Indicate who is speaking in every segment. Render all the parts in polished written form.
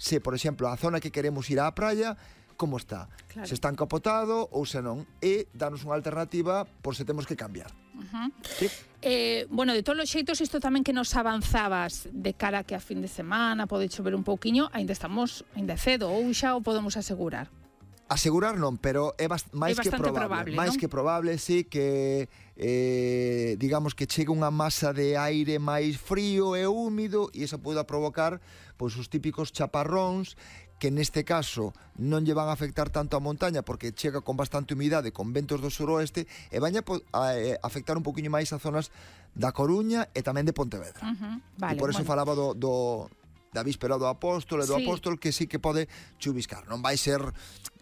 Speaker 1: se, por exemplo, a zona que queremos ir á praia, como está,
Speaker 2: Claro.
Speaker 1: se está encapotado ou se non, e danos unha alternativa por se temos que cambiar. Sí.
Speaker 2: Bueno, de todos os xeitos, isto tamén que nos avanzabas de cara que a fin de semana pode chover un pouquiño, ainda é cedo, ou xa o podemos asegurar?
Speaker 1: Asegurar non, pero é máis que
Speaker 2: bastante
Speaker 1: probable,
Speaker 2: probable,
Speaker 1: máis
Speaker 2: non?
Speaker 1: que probable, sí, que digamos que chegue unha masa de aire máis frío e húmido e iso poida provocar pois os típicos chaparróns que neste caso non lle van a afectar tanto a montaña porque chega con bastante humidade, con ventos do suroeste e van a afectar un poquinho máis a zonas da Coruña e tamén de Pontevedra.
Speaker 2: Vale,
Speaker 1: E por eso falaba da víspera do apóstolo e do
Speaker 2: Sí.
Speaker 1: apóstolo que sí que pode chuviscar. Non vai ser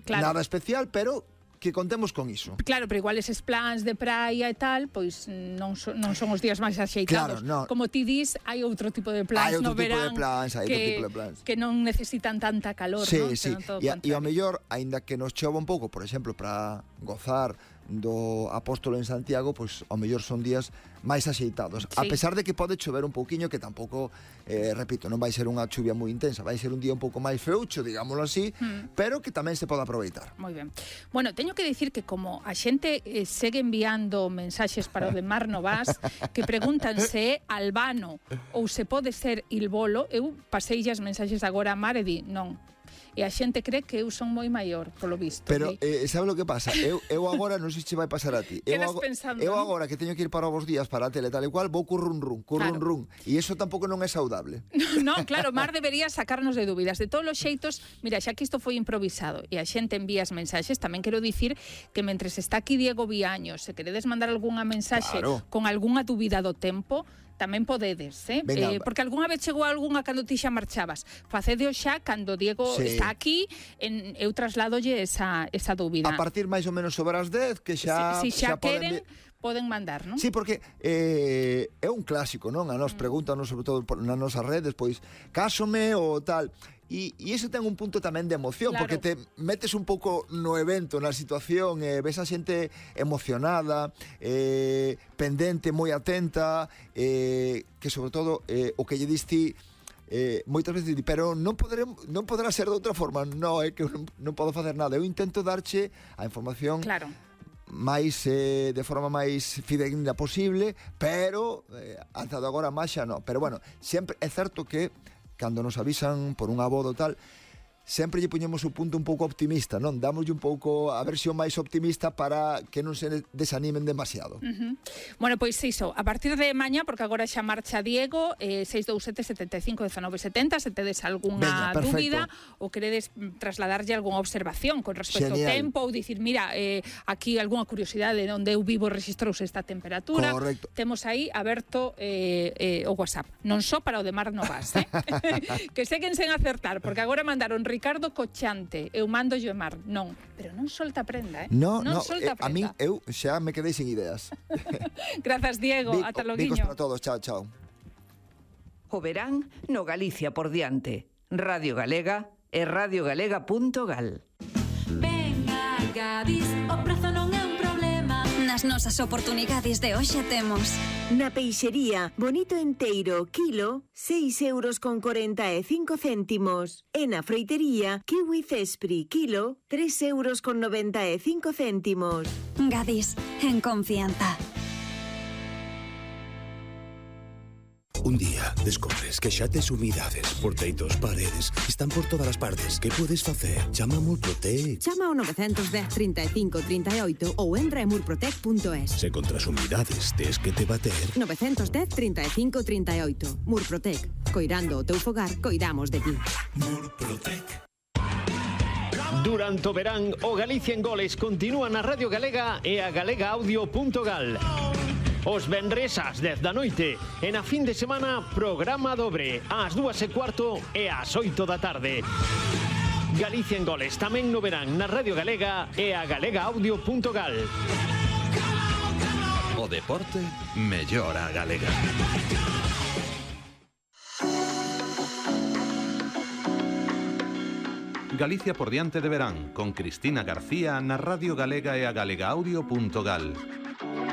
Speaker 1: nada especial, pero que contemos con iso.
Speaker 2: Claro, pero igual eses plans de praia e tal, pois non son os días máis axeitados.
Speaker 1: Claro, no.
Speaker 2: Como ti dis, hai outro tipo de plans
Speaker 1: Hai
Speaker 2: no
Speaker 1: outro tipo de
Speaker 2: verán
Speaker 1: plans, hai outro tipo de plans.
Speaker 2: que non necesitan tanta calor,
Speaker 1: Sí,
Speaker 2: non?
Speaker 1: sí.
Speaker 2: Senón todo o
Speaker 1: E ao
Speaker 2: contrario.
Speaker 1: mellor, aínda que nos chova un pouco, por exemplo, para gozar do apóstolo en Santiago, pois ao mellor son días máis axeitados. A
Speaker 2: Sí.
Speaker 1: pesar de que pode chover un pouquiño, que tampouco, repito, non vai ser unha chuvia moi intensa, vai ser un día un pouco máis feucho, digámoslo así, pero que tamén se pode aproveitar.
Speaker 2: Moi ben. Bueno, teño que dicir que como a xente segue enviando mensaxes para o de Mar Novas que preguntan se é Albano ou se pode ser Ilbolo, eu pasei as mensaxes agora a Mar e di non. E a xente cree que eu son moi maior, polo visto.
Speaker 1: Pero,
Speaker 2: Di.
Speaker 1: sabe o que pasa? Eu agora, non sei se vai pasar a ti.
Speaker 2: Quedas pensando,
Speaker 1: eu
Speaker 2: non?
Speaker 1: agora que teño que ir para os días para a tele tal e cual, vou currun run.
Speaker 2: Claro.
Speaker 1: E iso tampouco non é saudable.
Speaker 2: Non, claro, Mar debería sacarnos de dúbidas. De todos os xeitos, mira, xa que isto foi improvisado e a xente envía as mensaxes, tamén quero dicir que mentres está aquí Diego Viaño, se queredes mandar algunha mensaxe
Speaker 1: Claro.
Speaker 2: con algunha dúbida do tempo, tamén podedes,
Speaker 1: Venga.
Speaker 2: porque algunha vez chegou algunha cando ti xa marchabas. Facedeo xa cando Diego
Speaker 1: Sí.
Speaker 2: está aquí, eu trasladolle esa dúbida.
Speaker 1: A partir máis ou menos sobre as 10, que xa
Speaker 2: Si xa
Speaker 1: poden...
Speaker 2: poden mandar, non?
Speaker 1: Sí, porque é un clásico, non? A nos preguntanos, sobre todo nas nosas redes, pois, cásome ou tal. E iso ten un punto tamén de emoción,
Speaker 2: Claro.
Speaker 1: porque te metes un pouco no evento, na situación, ves a xente emocionada, pendente, moi atenta, que sobre todo o que lle diste moitas veces di, pero non poderá ser de outra forma. Non, é que non podo facer nada. Eu intento darche a información
Speaker 2: Claro.
Speaker 1: máis de forma máis fidedigna posible, pero ata agora máis xa non. Pero bueno, sempre é certo que cando nos avisan por unha boda ou tal, sempre lle poñemos o punto un pouco optimista, non? Dámoslle un pouco a versión máis optimista para que non se desanimen demasiado.
Speaker 2: Bueno, pois iso, a partir de mañá, porque agora xa marcha Diego, 627 75 19 70, se tedes algunha
Speaker 1: Veña, perfecto.
Speaker 2: dúbida ou queredes trasladarlle algunha observación con respecto
Speaker 1: Genial.
Speaker 2: ao tempo ou dicir, mira, aquí algunha curiosidade onde eu vivo registrouse esta temperatura.
Speaker 1: Correcto.
Speaker 2: Temos aí aberto o WhatsApp, non só para o de Mar Novas, que seguen sen acertar, porque agora mandaron Ricardo Cochante, eu mando yo Mar, non, pero non solta prenda,
Speaker 1: No,
Speaker 2: solta prenda.
Speaker 1: a min eu xa me quedei sin ideas.
Speaker 2: Grazas, Diego, ata loguiño.
Speaker 1: Bicos para todos, chao, chao.
Speaker 3: O verán no Galicia por diante. Radio Galega e radiogalega.gal.
Speaker 4: Venga, Gadis, o prezo non é un problema.
Speaker 5: Nas nosas oportunidades de hoxe temos
Speaker 6: Na peixería, bonito enteiro, kilo, 6,45 €. E na froitería, kiwi cespri, kilo, 3,95 €.
Speaker 5: Gadis, en confianza.
Speaker 7: Un día descobres que xa tes humidades, porteitos, paredes, están por todas as partes. Que podes facer? Chama a Murprotec.
Speaker 8: Chama ao 910 35 38 ou en remurprotec.es.
Speaker 7: Se contra as humidades tes que te bater,
Speaker 8: 910 35 38. Murprotec. Coirando o teu fogar, coidamos de ti.
Speaker 7: Murprotec.
Speaker 9: Durante o verán, o Galicia en Goles continúa na Radio Galega e a galegaaudio.gal. Os venres ás 10 da noite e na fin de semana programa dobre ás 2:15 e ás 8 da tarde. Galicia en Goles tamén no verán na Radio Galega e a galegaaudio.gal.
Speaker 10: O deporte mellora a galega. Galicia por diante de verán con Cristina García na Radio Galega e a galegaaudio.gal.